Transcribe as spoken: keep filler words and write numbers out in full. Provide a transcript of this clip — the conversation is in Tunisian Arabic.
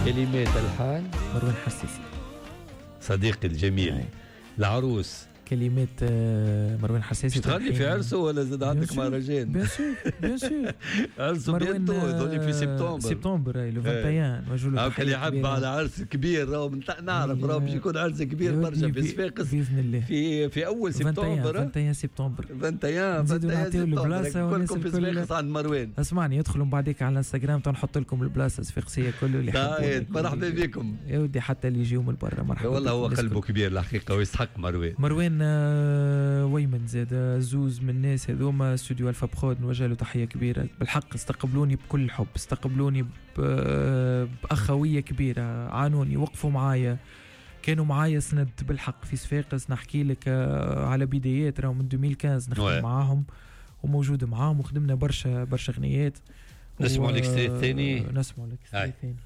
كلمات الحان مروان حساسي. صديقي الجميل. أي. العروس. كلمات آه، مروان حساسي. تغني في عرسه ولا زاد عندك مهرجان؟ bien sûr bien sûr. عرسه bientôt، يظل في سبتمبر. سبتمبر le واحد وعشرين. نوجه له. اللي يحب على عرس كبير، راهو نعرف راهو باش يكون عرس كبير برشا في صفاقس. باذن الله. في في اول سبتمبر. واحد وعشرين سبتمبر. واحد وعشرين. نزيدوا نعطيو البلاصه. كلكم في صفاقس عند مروان. اسمعني، يدخلوا من بعديك على الانستغرام، نحط لكم البلاصة الصفاقسيه كله اللي طيب، مرحبا بكم. يا ودي، حتى اللي يجيو من برا مرحبا. والله هو قلبه كبير الحقيقة ويستحق مروان. مروان آه، ويمن زاد زوز من الناس هذوما، استوديو الفا برود، نوجه له تحية كبيره. بالحق استقبلوني بكل حب، استقبلوني باخويه كبيره، عانوني، وقفوا معايا، كانوا معايا سند بالحق في صفاقس. نحكي لك آه، على بدايات، راهو من ألفين وخمسطاش نخدم معاهم وموجود معاهم وخدمنا برشا برشا غنيات. نسمعوا ال extrait الثاني. نسمعوا ال extrait الثاني.